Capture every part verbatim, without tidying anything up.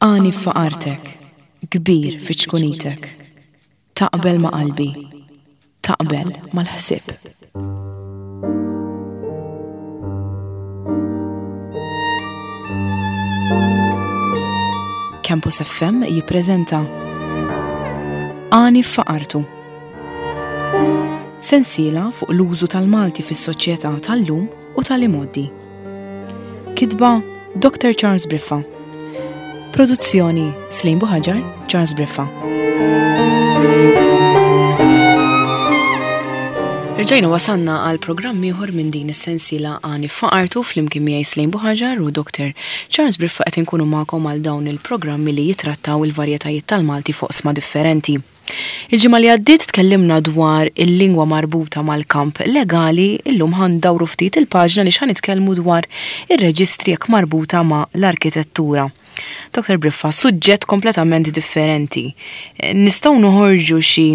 Għani f'faqartek, kbir fi ċkunitek. Taqbel ma' qalbi, taqbel mal-ħsieb. Campus F M jippreżenta Għani f'Faqartu. Sensiela fuq l-użu tal-Malti fis-soċjetà tal-lum u tal-imgħoddi. Kitba Doctor Charles Briffa. Produzzjoni Slim Buhaġar, Charles Briffa. Rġajna wasanna għal programm ieħor minn din is-sensiela Għani f'Faqartu flimkien miegħi Slim Buhaġar u Doctor Charles Briffa qed inkunu magħkom għal dawn il-programmi li jitrattaw il-varjetajiet tal-Malti fuq oqsma differenti. Il-ġimgħa li għaddiet tkellimna dwar il-lingwa marbuta mal-kamp legali, illum ħandawru ftit il-paġna li x'ħa nitkellmu dwar ir-reġistri jekk marbuta ma' l-arkitettura. Doctor Briffa, suġġett kompletament differenti. Nistgħu noħorġu xi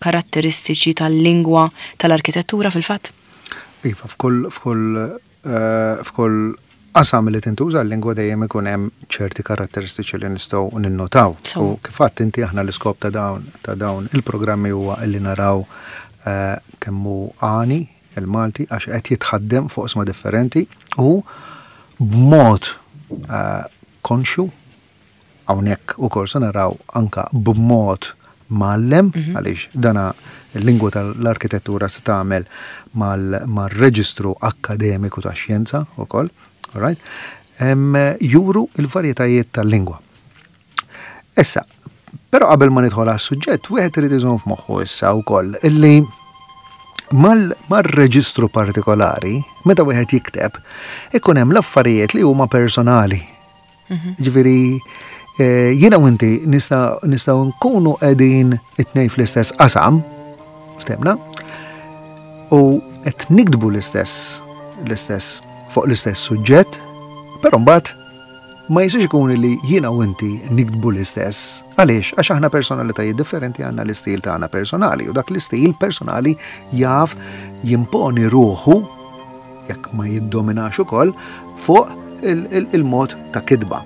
karatteristiċi tal-lingwa tal-arkitettura fil-fatt? Iva, f'kull, f'kull, eh, f'kull qasam li tintuża l-lingwa dejjem ikun hemm ċerti karatteristiċi li nistgħu ninnotaw. So. U kif għedt inti aħna l-iskop ta' dawn, ta' dawn il-programmi huwa li naraw, eh, kemm hu għani il-Malti għax qed jitħaddem fuq oqsma differenti u b'mod, eh, konxju hawnhekk ukoll se naraw anka b'mod mgħallem, Mhm. għaliex dana l-lingwa tal-arkitettura se tagħmel mal-, mar-reġistru akkademiku tax-xjenza ukoll, all right? Em, juru il-varjetajiet tal-lingwa. Issa, però qabel ma nidħol għas-suġġett, wieħed irid iżomm f'moħħu issa wkoll illi mal-, mar-reġistru partikolari, meta wieħed jikteb, ikun hemm l-affarijiet li huma personali. Mhm. Ġifieri, eh, jiena u inti nista-, nistgħu nkunu qegħdin it-tnejn fl-istess qasam, ftemna, u qed niktbu l-istess, l-istess fuq l-istess suġġett, però mbagħad ma jistax ikun li jiena u inti niktbu l-istess. Għaliex? Għax aħna personalitajiet differenti, għandna l-istil tagħna personali, u dak l-istil personali jaf jimponi ruħu, jekk ma jiddominax ukoll, fuq il-, il-, il-mod ta' kitba.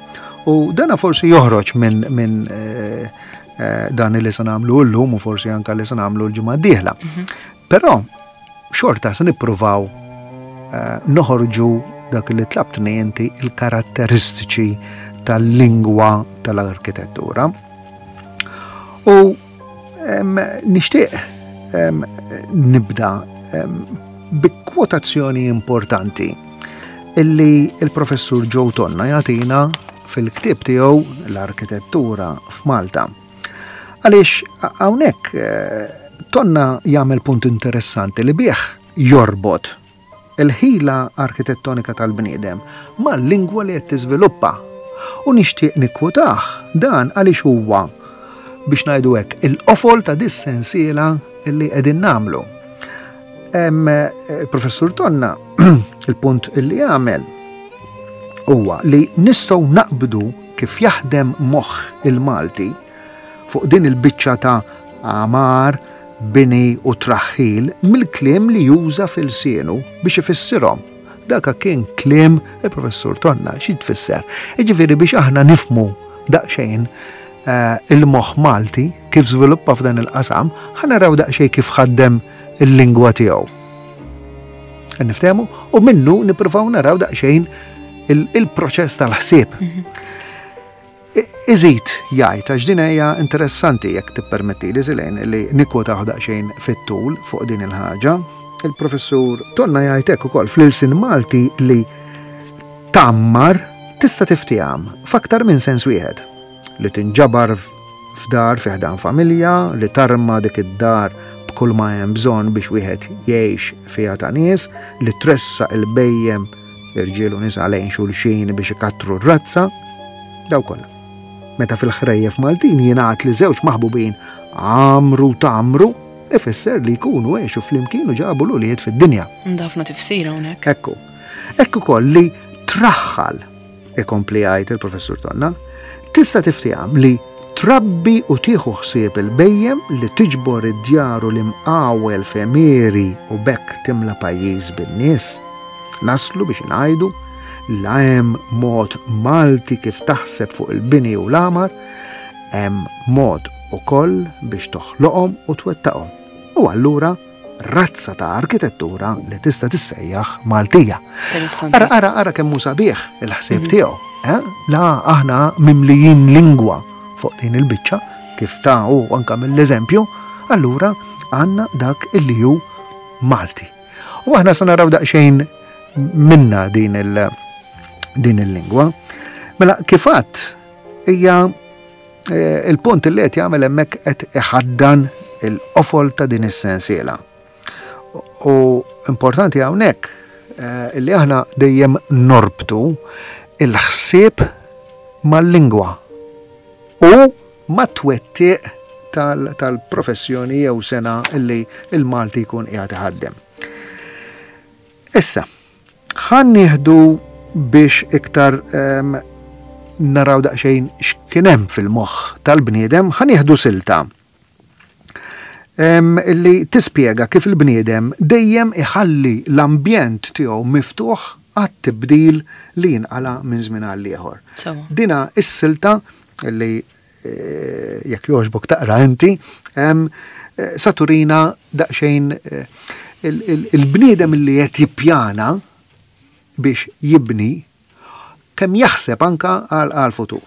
U dana forsi joħroġ minn, minn, eh, eh, dan li se nagħmlu llum u forsi anka li se nagħmlu l-ġimgħa d-dieħla. Mhm. Però xorta se nippruvaw, eh, noħorġu dak li tlabtni inti il-karatteristiċi tal-lingwa tal-arkitettura. U, em, nixtieq, em, nibda, em, bi kwotazzjoni importanti illi il-professur Joe Tonna jagħtina fil-ktieb tiegħu L-Arkitettura f'Malta. Għaliex hawnhekk, eh, Tonna jagħmel punt interessanti li bih jorbot il-ħila arkitettonika tal-bniedem mal-lingwa li qed tiżviluppa. U nixtieq nikkwotah dan għaliex huwa, biex ngħidu hekk, il-qofol ta' dis-sensiela li qegħdin nagħmlu. Em, il-professur Tonna, il-punt illi jagħmel huwa li nistgħu naqbdu kif jaħdem moħħ il-Malti fuq din il-biċċa ta' għamar, bini u traħħil mill-kliem li juża fil-sienu biex ifissirhom. Daka kien kliem il-professur Tonna, xi tfisser? Jiġifieri biex aħna nifmu daqsxejn, eh, il-moħħ Malti kif żviluppa f'dan il-qasam, ħa naraw daqsxejn kif ħaddem il-lingwa tiegħu. Niftehmu? U minnu nippruvaw naraw daqsxejn il-, il-proċess tal-ħsieb. Mhm. I-, iżid jgħid, għax din hija interessanti jekk tippermetti li Silene li nikkwotaw daqsxejn fit-tul fuq din il-ħaġa. Il-professur Tonna jgħid hekk ukoll fl-ilsien Malti li tammar tista' tiftiham f'aktar minn sens wieħed. Li tinġabar f'dar fi ħdan familja, li tarma dik id-dar b'kull ma hemm bżonn biex wieħed jgħix fiha ta' nies, li tressaq il-bejjem irġiel u nisa lejn xulxin biex ikattru r-razza, daw kollha. Meta fil-ħrejjef Maltin jingħad li żewġ maħbubin għamru tamru, ifisser li jkunu għexu flimkien u ġabu l-ulied fid-dinja. Ħafna tifsira hawnhekk. Ekku. Ekku koll li traħħal, ikompli jgħid il-professur Tonna, tista' tiftiham li trabbi u tieħu ħsieb il-bejjem li tiġbor id-djar u l-imqawel f'għemieri u bekk timla pajjiż bin-nies. Naslu biex ngħidu La hemm mod Malti kif taħseb fuq il-bini u l-għamar, hemm mod ukoll biex toħloqhom u twettaqhom. U allura razza ta' arkitettura li tista' tissejjaħ Maltija. Interessanti. Ara, ara, ara kemm hu sabiħ il-ħsieb tiegħu. Eh? La aħna mimlijin lingwa fuq din il-biċċa, kif ta' u anka mill-eżempju, allura għandna dak illi hu Malti. U aħna se naraw daqsxejn minna din il- din il-lingwa. Mela kifat hija eh, il-punt li qed jagħmel hemmhekk qed iħaddan il-qofol ta' din is-sensiela. U importanti hawnhekk eh, illi aħna dejjem norbtu il-ħsieb mal-lingwa u mat-twettiq tal- tal-professjoni jew sena illi il-Malti jkun qiegħed iħaddem. Issa, ħan nieħdu biex iktar em, naraw daqsxejn x'kien hemm fil-moħħ tal-bniedem, ħa nieħdu silta em, illi tispjega kif il-bniedem dejjem iħalli l-ambjent tiegħu miftuħ għat-tibdil li jinqala minn żmien għal ieħor. Sewa. Dina is-silta li eh, jekk jogħġbok taqra inti, em, eh, sa turina daqsxejn eh, il- il- il-bniedem li qed jippjana biex jibni kemm jaħseb anka għal għal futur.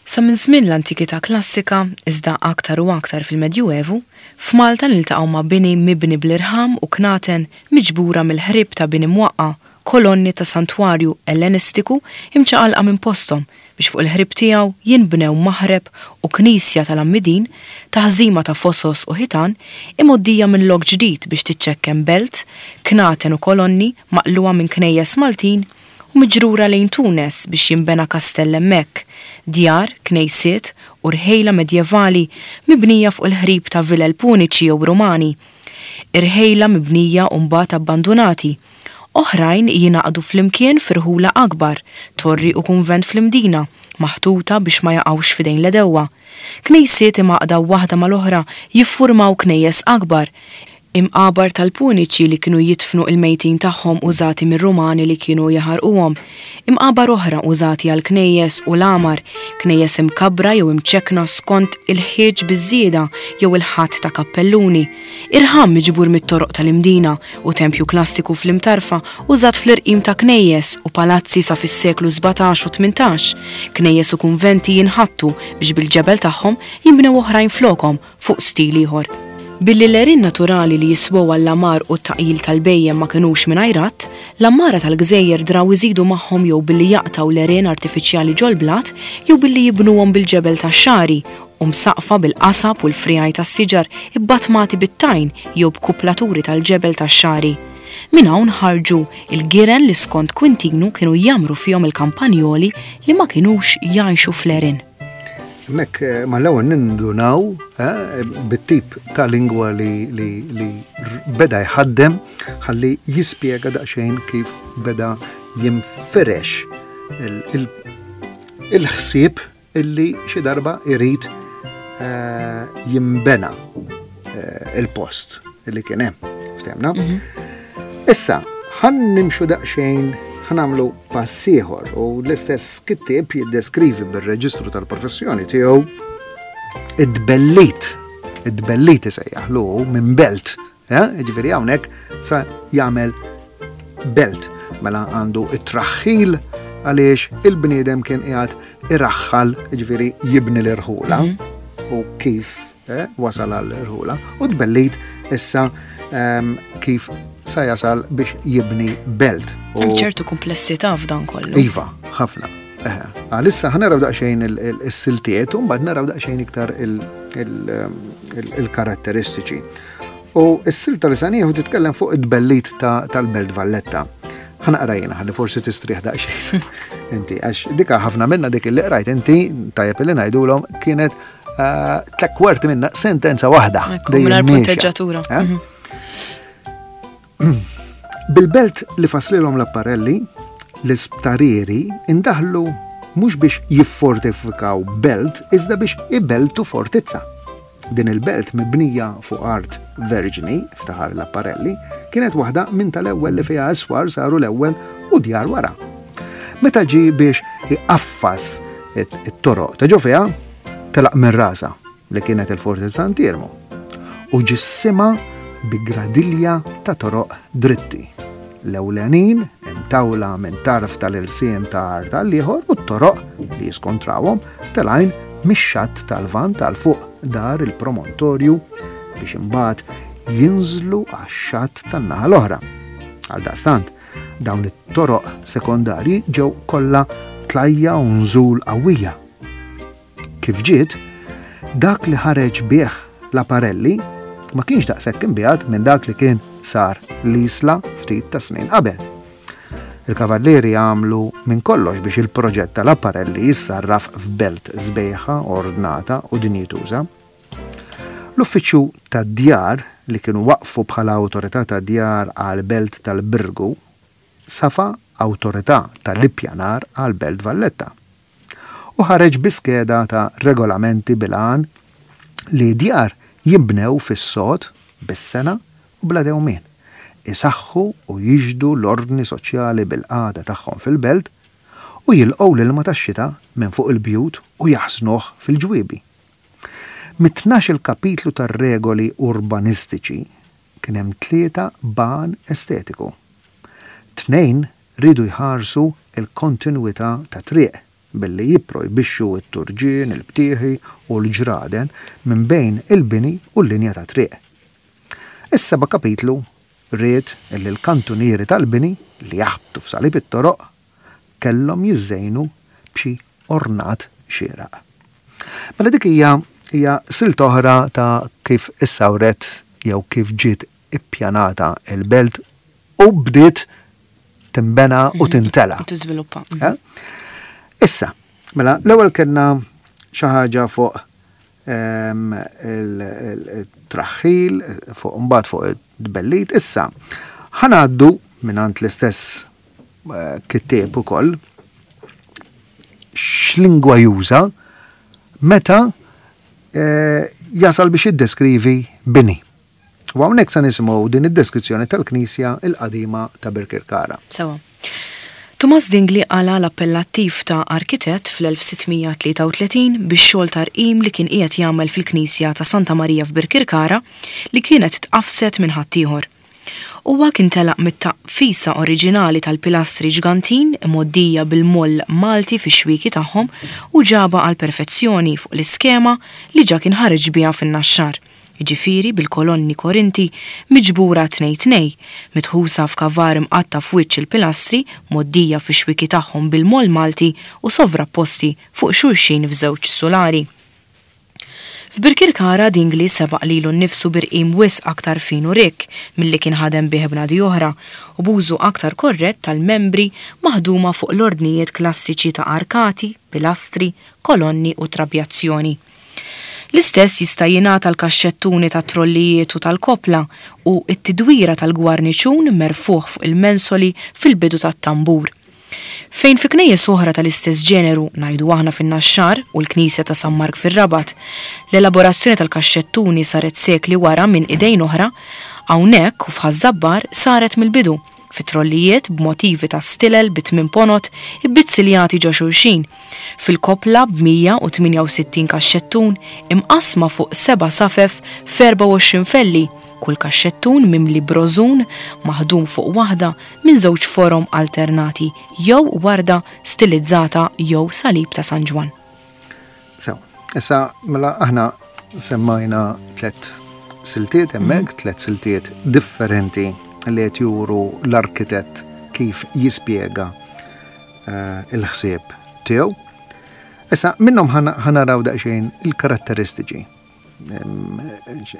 Sa minn żmien l-antikità klassika, iżda aktar u aktar fil-Medjuevu, f'Malta niltaqgħu ma' bini mibni bl-irħam u knaten miġbura mill-ħrib ta' bini mwaqqa, kolonni ta' santwarju ellenistiku imċaqalqa minn posthom biex fuq il-ħrib tiegħu jinbnew maħreb u knisja tal-Għammidin, taħżima ta' fosos u ħitan imgħoddija minn lok ġdid biex tiċċekken belt, knaten u kolonni maqluwa minn knejjes Maltin u miġrura lejn Tunes biex jinbena kastell hemmhekk, djar, knejsiet u rħejla medjevali mibnija fuq il-ħrib ta' vilel puniċi jew Rumani, irħejla mibnija u mbagħad abbandunati. Oħrajn jingħaqdu flimkien firħula akbar, torri u kunvent fl-Imdina, maħtuta biex ma jaqgħux f'idejn l-għedewwa. Knejsiet imgħaqda waħda mal-oħra jiffurmaw knejjes akbar, imqabar tal-puniċi li kienu jidfnu il-mejtin tagħhom użati mir-Rumani li kienu jaħarquhom, imqabar oħra użati għal knejjes u l-għamar, knejjes imkabbra jew imċekna skont il-ħieġ biż-żieda jew il-ħatt ta' kappelluni, irħam miġbur mit-toroq tal-Imdina u tempju klassiku fl-Imtarfa użat fl-irqim ta' knejjes u palazzi sa fis-seklu sbatax u tmintax, knejjes u kunventi jinħattu biex bil-ġebel tagħhom jinbnew oħrajn flokhom fuq stil ieħor. Billi l-għerien naturali li jiswew għall-għamar u t-taqjil tal-bhejjem ma kinux mingħajr għadd, l-għammara tal-gżejjer draw iżidu magħhom jew billi jaqtaw l-għerien artifiċjali ġol-blat jew billi jibnuhom bil-ġebel tax-xagħri u msaqfa bil-qasab u l-frijaj tas-siġar ibbatmati bit-tajn jew b'kuplaturi tal-ġebel tax-xagħri. Minn hawn ħarġu il-giren li skont Quintinu kienu jamru fihom il-kampanjoli li ma kinux jgħixu fl-għerien. Mek, eh, ma l-ewwel nindunaw, eh, bit-tip ta' lingwa li, li, li r-, beda jħaddem ħalli jispjega daqsxejn kif beda jinfirex il-, il-, il-ħsieb illi xi darba irid, eh, jimbena, eh, il-post illi kien hemm. Ftemna? Mhm. Issa, ħan nimxu daqsxejn, ħa nagħmlu pass ieħor u l-istess kittieb jiddeskrivi bir-reġistru tal-professjoni tiegħu id-bellit, id-bellit isejjaħlu minn belt, eh? Jiġifieri hawnhekk sa jagħmel belt, mela għandu it-traħħil għaliex il-bniedem kien qiegħed iraħħal, jiġifieri jibni l-irħula Mhm. u kif, eh, wasal għall-irħula u tbellit issa, ehm, kif sa jasal biex jibni belt. U Hemm ċertu komplessità f'dan kollu. Iva, ħafna. Eħe. Għalissa ħa naraw daqsxejn il-, il-, is-siltiet u mbagħad naraw daqsxejn iktar il-, il-, il-, il-karatteristiċi. U s-silta li sa nieħu titkellem fuq id-bellit ta-, tal-Belt Valletta. Ħa naqra jiena, ħalli forsi tistrieħ daqsxejn. Inti, għax dika ħafna minna dik li qrajt inti, tajjeb li ngħidulhom, kienet, eh, tliet kwarti minna sentenza waħda. Ekku, Dejjem mingħajr miexja. punteġġatura. Eh? Mhm. Bil-belt li faslilhom l-apparelli, l-isptarieri indaħlu mhux biex jiffortifikaw belt, iżda biex ibeltu fortizza. Din il-belt mibnija fuq art verġni, ftaħar l-apparelli, kienet waħda minn tal-ewwel li fiha iswar saru l-ewwel u djar wara. Meta ġie biex iqaffas it-toroq ta' ġo fiha, telaq minn rasa li kienet il-Forti Sant'Iermu u ġissimha bi gradilja ta' toroq dritti. L-ewlenin imtawla minn tarf tal-irsien ta' art għall-ieħor u t-toroq li jiskontrawhom telgħin mix-xatt tal-Lvant għal fuq dar il-promontorju biex imbagħad jinżlu għax-xatt tan-naħa l-oħra. Għaldaqstant, dawn it-toroq sekondarji ġew kollha tlajja u nżul qawwija. Kif ġiet, dak li ħareġ bih Laparelli ma kienx daqshekk imbiegħed minn dak li kien sar l-Isla ftit ta' snin qabel. Il-kavallieri għamlu minn kollox biex il-proġett tal-Apparelli jissarraf f'belt sbejħa, ordnata u dinjituża. L-uffiċċju tad-djar li kienu waqfu bħala awtorità tad-djar għal belt tal-Birgu safa awtorità tal-ippjanar għal belt Valletta. U ħareġ bi skeda ta' regolamenti bil-għan li djar jibnew fis-sod bis-sena u bla dewmien, isaħħu u jiġdu l-ordni soċjali bil-qagħda tagħhom fil-belt u jilqgħu l-ilma tax-xita minn fuq il-bjut u jaħsnuh fil-ġwiebi. Mit-tnax il kapitlu tar-regoli urbanistiċi kien hemm tlieta b'għan estetiku. Tnejn riedu jħarsu il-kontinwità ta' triq billi jipprojbixxu t-turġien, il-btieħi u l-ġraden minn bejn il-bini u l-linja ta' triq. Is-seba' kapitlu ried li l-kantunieri tal-bini li jaħbtu f'salib it-toroq kellhom jiżżejnu b'xi ornat xieraq. Mela dik hija hija silt oħra ta' kif issawret jew kif ġiet ippjanata il-belt u bdiet timbena u tintela. U tiżviluppa. Eh? Issa, mela, l-ewwel kellna xi ħaġa fuq ehm, il-traħħil, fuq mbagħad fuq id-tbellit. Issa, ħa ngħaddu mingħand l-istess eh, kittieb ukoll x'lingwa juża meta eh, jasal biex jiddeskrivi bini. U hawnhekk se nisimgħu din id-deskrizzjoni tal-Knisja il-qadima ta' Birkirkara. Sewa. Tumas Dingli qala l-appellattiv ta' arkitett fl-elf sitt mija tlieta u tletin bix-xogħol ta' rqim li kien qiegħed jagħmel fil-Knisja ta' Santa Marija f'Birkirkara li kienet tqafset minn ħaddieħor. Huwa kien telaq mit-taqfisa oriġinali tal-pilastri ġgantin imgħoddija bil-moll Malti fix-xwieki tagħhom u ġaba għal perfezzjoni fuq l-iskema li ġa kien ħareġ biha fin-Naxxar. Jiġifieri bil-kolonni Korinti miġbura tnej tnej, mitħusa f'kavar imqatta f'wiċċ il-pilastri mgħoddija fix-xwieki tagħhom bil-moll Malti u sovrapposti fuq xulxin f'żewġ sulari. F'Birkirkara Dingli sebaq lilu nnifsu birqim wisq aktar fin u rikk milli kien ħadem bih bnadi oħra u b'użu aktar korrett tal-membri maħduma fuq l-ordnijiet klassiċi ta' arkati, pilastri, kolonni u trabjazzjoni. L-istess jista' jingħata l-kaxxettuni ta' trollijiet u tal-kopla u t-tidwira tal-gwarniċun merfuħ fuq il-mensoli fil-bidu tat-tambur. Fejn fi knejjes oħra tal-istess ġeneru, ngħidu aħna fin-Naxxar u l-Knisja ta' San Mark fir-Rabat, l-elaborazzjoni tal-kaxxettuni saret sekli wara minn idejn oħra, hawnhekk u f'Ħaż-Żabbar saret mill-bidu, fi trollijiet b'motivi ta' stilel bi tmien ponot ibbizzilljati ġo xulxin, fil-kopla b'mija u tmienja u sittin kaxxettun imqasma fuq seba' safef f'erba' u għoxrin felli, kull kaxxettun mimli brożun maħdum fuq waħda minn żewġ forom alternati jew warda stilizzata jew salib ta' San Ġwann. Sew, issa mela aħna semmajna tliet siltiet hemmhekk, tliet siltiet differenti li qed juru l-arkitett kif jispjega, eh, il-ħsieb tiegħu. Issa minnhom ħa naraw daqsxejn il-karatteristiċi. Em,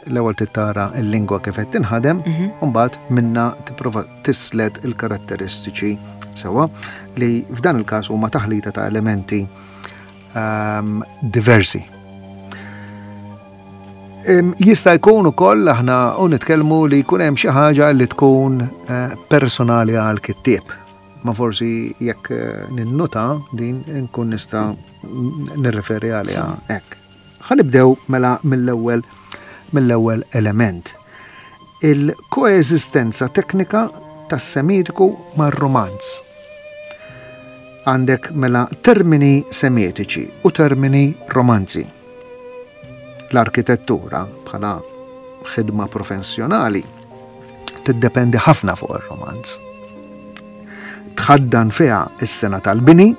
l-ewwel tittara l-lingwa kif qed tinħadem, Mhm. u mbagħad minna tipprova tislet il-karatteristiċi sewwa li f'dan il-każ huma taħlita ta' elementi, ehm, diversi. Em, jista' jkun ukoll aħna u nitkellmu li jkun hemm xi ħaġa li tkun, eh, personali għal kittieb. Ma forsi jekk, eh, ninnota din nkun nista' nirreferi għaliha Sewa. hekk. Ħa nibdew mela mill-ewwel mill-ewwel element. Il-koeżistenza teknika tas-Semitiku mar-Romanz. Għandek mela termini semitiċi u termini romanzi. L-arkitettura bħala ħidma professjonali tiddependi ħafna fuq ir-romanz. Tħaddan fiha is-sengħa tal-bini,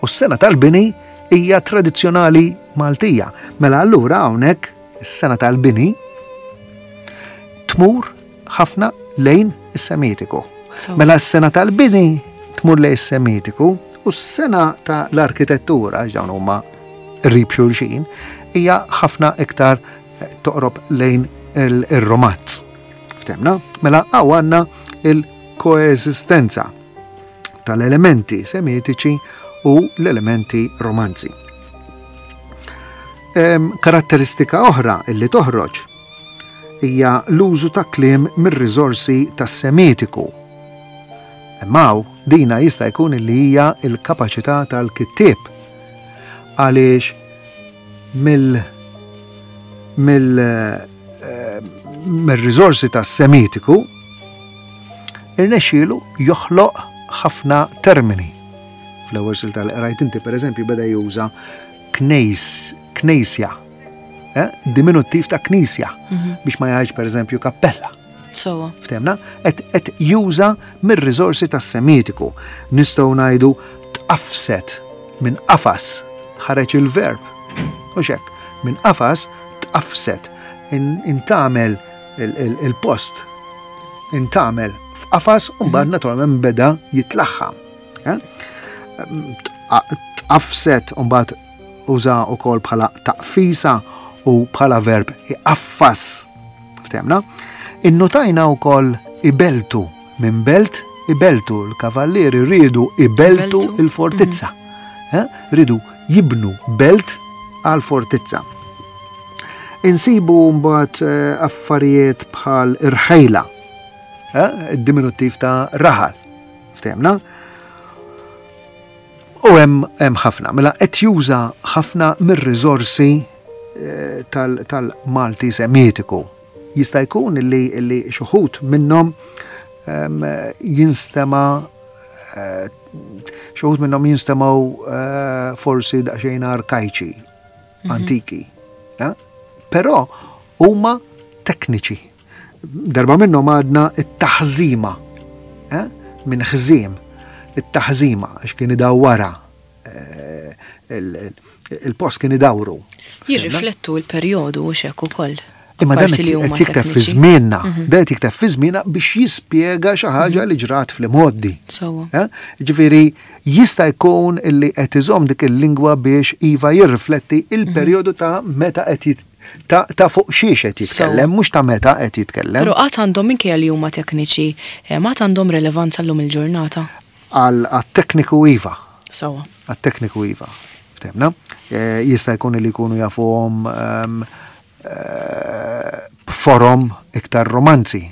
u s-sengħa tal-bini hija tradizzjonali Maltija. Mela allura hawnhekk is-sengħa tal-bini tmur ħafna lejn is-Semitiku. Mela s-sengħa tal-bini tmur lejn is-Semitiku u s-sengħa tal-arkitettura, għax dawn huma qrib xulxin, hija ħafna iktar toqrob lejn il-romanz. Ftemna? Mela hawn għandna il-koeżistenza tal-elementi semitiċi u l-elementi romanzi. Karatteristika oħra illi toħroġ hija l-użu ta' kliem mir-riżorsi tas-Semitiku. Imma dina jista' jkun li hija l-kapaċità tal-kittieb, għaliex mill mill mir-riżorsi tas-Semitiku irnexxielu joħloq ħafna termini. Fl-ewwel silta li qrajt inti, pereżempju, beda juża knejs, knisja, eh? Diminuttiv ta' knisja, mhm. biex ma jgħidx pereżempju kappella. Sowa. Ftemna? Et juża mir-riżorsi tas-Semitiku. Nistgħu ngħidu tqafset minn qafas, ħareġ il-verb. Mhux hekk, minn qafas tqafset, intamel il-post, intamel f'qafas u mbagħad mhm. naturalment beda jitlaħħam. Eh? Tqafset u mbagħad uża wkoll bħala taqfisa u bħala verb iqaffas. Ftemna? Innotajna wkoll ibeltu minn belt, ibeltu l-kavallieri rridu ibeltu il-fortizza. Mhm. Eh? Ridu jibnu belt għal-fortizza. Insibu mbagħad eh, affarijiet bħal irħejla, eh, id-diminuttiv ta' raħal. Ftemna? U hemm hemm ħafna, mela qed juża ħafna mir-riżorsi eh, tal-Malti Semitiku. Jista' jkun li li xi wħud minnhom ehm, jinstema' eh, xi wħud minnhom jinstemgħu eh, forsi daqsxejn arkajċi, mhm. antiki. Però huma tekniċi. Darba minnhom għadna it-taħżima, minn ħżiem, it-taħżima, għax kien idawwara, il-post kien idawru. Jirriflettu l-perjodu u xek ukoll. Imma dan qed jikteb fi żmienna, mhm. dan qed jikteb fi żmienna biex jispjega xi ħaġa li ġrat fl-imgħoddi. Sewwa. Ġifieri jista' jkun illi qed iżomm dik il-lingwa biex iva jirrifletti il-perjodu ta' meta qed ta' fuq xiex qed jitkellem, mhux ta' meta qed jitkellem. Però qatt għandhom, minkejja li huma tekniċi, m'għad għandhom relevanza llum il-ġurnata? Għat-tekniku iva. Sewwa. Għat-tekniku iva. Ftemna? Jista' jkun li jkunu jafuhom b'forom iktar romanzi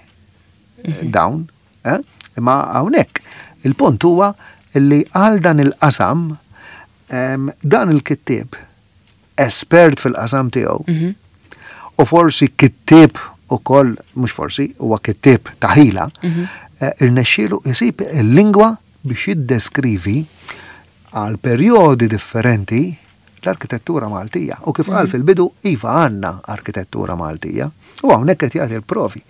dawn, imma hawnhekk il-punt huwa li għal dan il-qasam dan il-kittieb espert fil-qasam tiegħu mhm. u forsi kittieb ukoll, mhux forsi, huwa kittieb ta' ħila, mhm. eh, irnexxielu jsib il-lingwa biex jiddeskrivi għal perjodi differenti l-arkitettura Maltija. U kif qal mhm. fil-bidu, iva għandna arkitettura Maltija. U hawnhekk qed jagħti l-provi.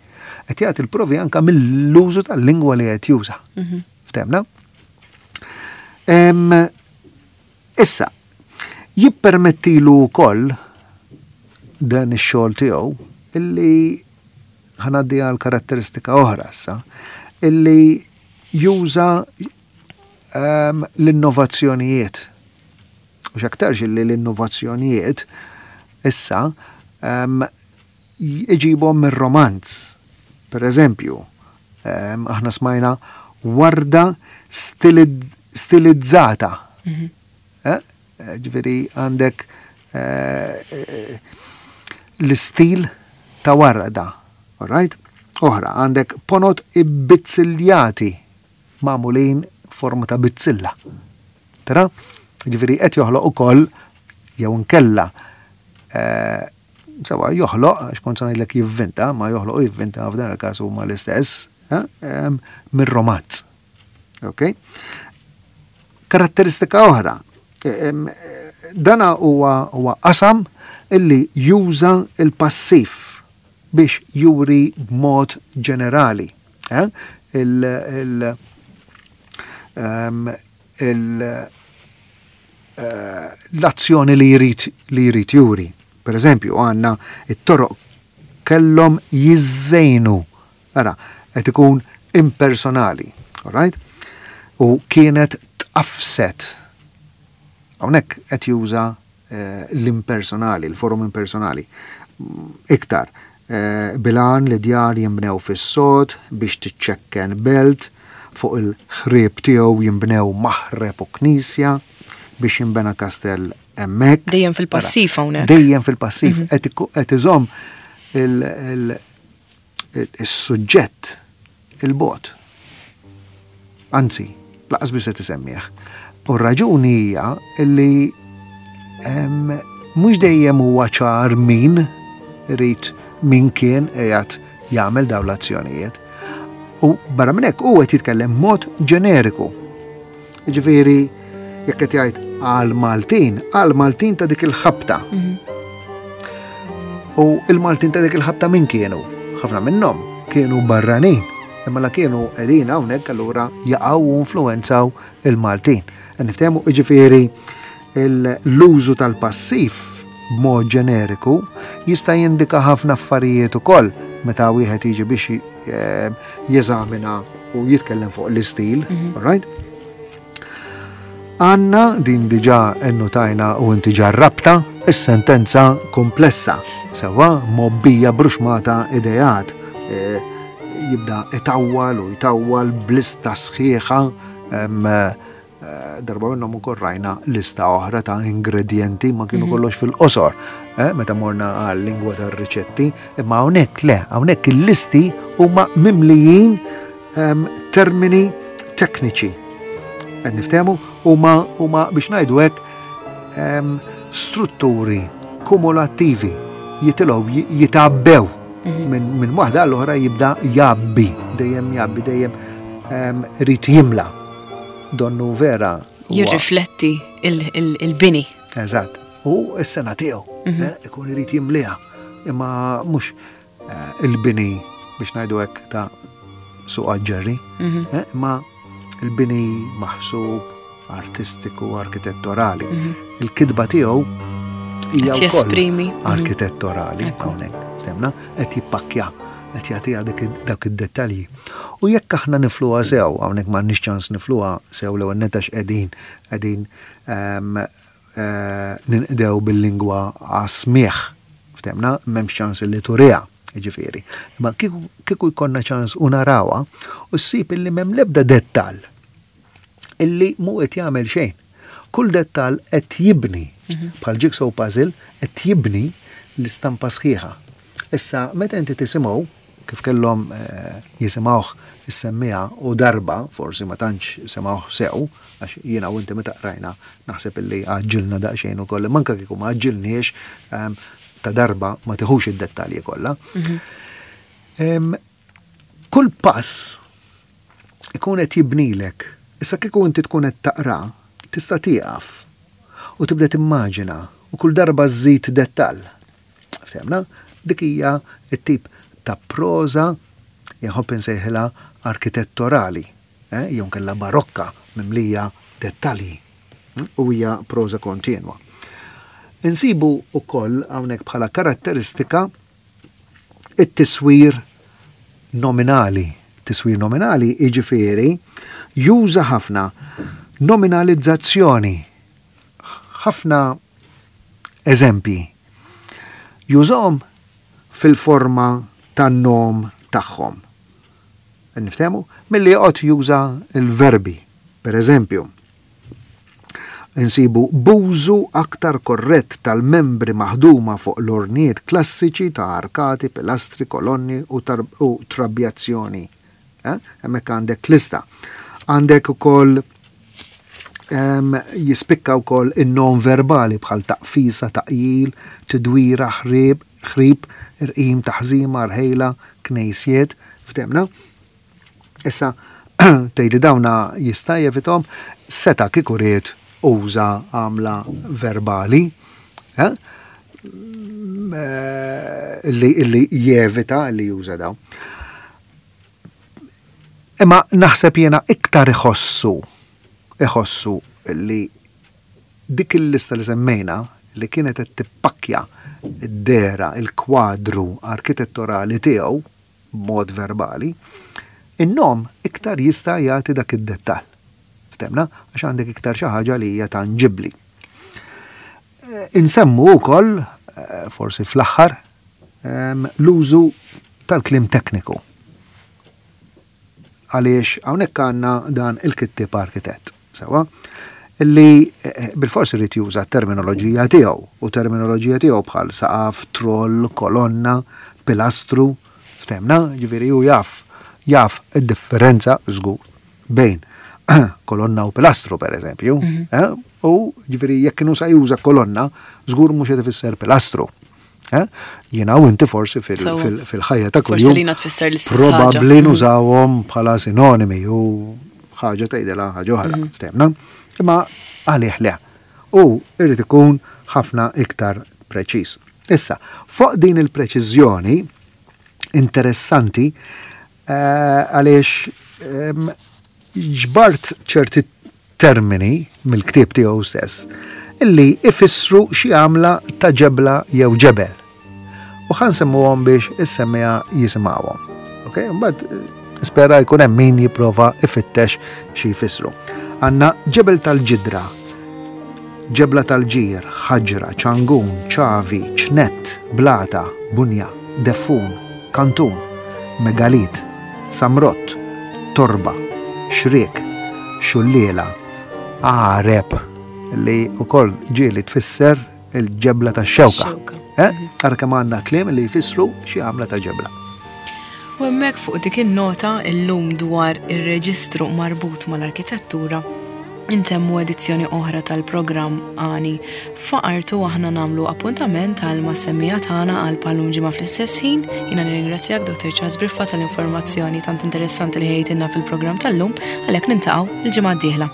Qed jagħti l-provi anke mill-użu tal-lingwa li qed juża. Mhm. Ftemna? Issa, jippermettilu wkoll dan ix-xogħol tiegħu illi ħanaddi għal karatteristika oħra issa, illi juża ehm, l-innovazzjonijiet. U x'aktarx illi l-innovazzjonijiet issa ehm, iġibhom mir-romanz. Per eżempju, ehm, aħna smajna warda stilizzata. Mhm. Eh? Ġifieri għandek eh, l-istil ta' warda. All right? Oħra, għandek ponot ibbizziljati magħmulin forma ta' bizzilla. Tara? Ġifieri qed joħloq ukoll jew nkella eh, sewa joħloq, għax kont se ngħidlek jivvinta, ma joħloq u jivvinta f'dan il-każ huma l-istess, eh, mir-romanz. Ok? Karatteristika oħra, dana huwa qasam illi juża il-passiv biex juri b'mod ġenerali. Eh? Il, il, um, il, uh, l-azzjoni li jrid li jrid juri. Per eżempju, għandna it-toroq kellhom jiżżejnu. Ara, qed ikun impersonali, all right? U kienet tqafset. Hawnhekk qed juża eh, l-impersonali, il-forum impersonali. Iktar, eh, bil-għan li djar jimbnew fis-sod biex tiċċekken belt, fuq il-ħrieb tiegħu jimbnew maħreb u knisja biex jimbena kastell hemmhekk. Dejjem fil-passiv hawnhekk. Dejjem fil-passiv qed iżomm il-suġġett il-bogħod. Anzi, lanqas biss qed isemmih. U r-raġuni hija illi mhux dejjem huwa ċar min irid min kien qiegħed jagħmel dawn l-azzjonijiet. U barra minn hekk hu qed jitkellem mod ġeneriku. Jiġifieri jekk qed jgħid għal Maltin, għal Maltin ta' dik il-ħabta. U il-Maltin ta' dik il-ħabta min kienu? Ħafna minnhom kienu barranin. Imma la kienu qegħdin hawnhekk allura jaqgħu u influenzaw il-Maltin. Niftehmu jiġifieri l-użu tal-passiv b'mod ġeneriku jista' jindika ħafna affarijiet ukoll meta wieħed jiġi biex jeżamina u jitkellem fuq l-istil, all right? Għandna din diġà innutajna u inti ġarrabta is-sentenza komplessa, sewa mobbija bruxmata ideat. E, jibda itawwal u jtawwal b'lista sħiħa darba minnhom ukoll rajna lista oħra ta' ingredienti ma kienu kollox fil-qosor, eh, meta morna għal lingwa tar-riċetti, imma hawnhekk le, hawnhekk il-listi huma mimlijin termini tekniċi. Qed niftehmu huma huma biex ngħidu hekk strutturi kumulattivi jitilgħu jitabbew minn min waħda għall-oħra jibda jabbi, dejjem jabbi, dejjem irid jimla. Donnu vera. Jirrifletti il-bini. Eżatt. U s-sena tiegħu eh, ikun irid jimliha. Imma mhux eh, il-bini biex ngħidu hekk ta' suq ġerri, eh, imma il-bini maħsub artistiku, arkitettorali. Il-kitba tiegħu hija Qed jesprimi. arkitettorali hawnhekk. Ftemna, qed jippakkja, qed jagħtiha dak id-dettalji. U jekk aħna nifluha sew, hawnhekk m'għandniex ċans nifluha sew l-ewwel nett għax qegħdin qegħdin ninqdew bil-lingwa għas-smigħ. Ftemna, m'hemmx ċans li turiha, jiġifieri. Imma kieku jkollna ċans u narawha, u ssib illi m'hemm l-ebda dettall illi mhu qed jagħmel xejn. Kull dettall qed jibni, bħal jigsaw puzzle, qed jibni l-istampa sħiħa. Issa, meta inti tisimgħu, kif kellhom jisimgħuh is-semmiegħa u darba, forsi ma tantx semgħuh sew, għax jiena u inti meta qrajna naħseb illi għaġġilna daqsxejn ukoll, manka kieku ma għaġġilniex ta' darba ma tiħux id-dettalji kollha. Kull pass ikun qed jibnilek. Issa kieku inti tkun qed taqra, tista' tieqaf u tibda timmaġina u kull darba żżid dettall. Ftemna? Dik hija t-tip ta' proża jħobb insejħilha arkitettorali, eh, jew kella barokka mimlija dettalji u hija proża kontinwa. Insibu ukoll hawnhekk bħala karatteristika it-tiswir nominali. Tiswir nominali jiġifieri juża ħafna nominalizzazzjoni, ħafna eżempji. Jużahom fil-forma tan-nom tagħhom. Niftehmu? Milli joqgħod juża l-verbi. Per eżempju, insibu b'użu aktar korrett tal-membri maħduma fuq l-ornijiet klassiċi ta' arkati, pilastri, kolonni u, u trabjazzjoni. Eh? Hemmhekk għandek lista. Għandek ukoll jispikka wkoll in-non verbali bħal taqfisa, taqjil, tidwira, ħrib, ħrib, irqim, taħżima, rħejla, knejsiet, ftemna. Issa, tgħidli dawna jista' jevithom, Seta' kieku ried uża għamla verbali, eh? Illi, illi jevita li juża daw. Imma naħseb jiena iktar iħossu, iħossu li dik il-lista li semmejna li kienet qed tippakkja d-dehra, il-kwadru arkitetturali tiegħu b'mod verbali, in-nom iktar jista' jagħti dak id-dettall. Ftehmna? Għax għandek iktar xi ħaġa li hija tanġibbli. Insemmu wkoll, eh, forsi fl-aħħar, ehm, l-użu tal-kliem tekniku. Għaliex hawnhekk għandna dan il-kittib arkitett, sewa, illi eh, bil-forsi irid juża terminoloġija tiegħu u terminoloġija tiegħu bħal saqaf, troll, kolonna, pilastru, ftehmna, ġifieri hu jaf jaf id-differenza żgur bejn kolonna u pilastru per eżempju, mm -hmm. u ġifieri jekk kienu sa juża kolonna, żgur mhux qed ifisser pilastru. Eh? Jiena u inti forsi fil-ħajja ta' kuljum. Forsi li tfisser l-istess Probabbli mhm. nużawhom bħala sinonimi u ħaġa tgħidilha ħaġa oħra, mhm. ftehmna. Imma għalih le. U irid ikun ħafna iktar preċiż. Issa, fuq din il-preċiżjoni interessanti eh, għaliex ġbart ċerti termini mill-ktieb tiegħu stess illi ifissru xi għamla ta' ġebla jew ġebel. U ħa nsemmuhom biex is-semmiegħa jisimgħuhom. Ok, mbagħad nispera jkun hemm min jipprova ifittex xi jfissru. Għandna ġebel tal-ġidra, ġebla tal-ġir, ħaġra, ċangun, ċavi, ċnett, blata, bunja, deffun, kantun, megalit, samrott, torba, xriek, xulliela, għareb, li wkoll ġieli tfisser il-ġebla ta' xewka. Eh? Ara kemm għandna kliem li jfissru xi għamla ta' ġebla. U hemmhekk fuq dik in-nota illum dwar ir-reġistru marbut mal-arkitettura intemmu edizzjoni oħra tal-programm Għani F'Artu. Aħna nagħmlu appuntament għal mas-semmiegħa tagħna għal bħal-lum ġimgħa fl-istess ħin. Jiena nirringrazzjak, Doktor Charles Briffa, tal-informazzjoni tant interessanti li ħejtilna fil-programm tal-lum, għalhekk niltaqgħu il-ġimgħa d-dieħla.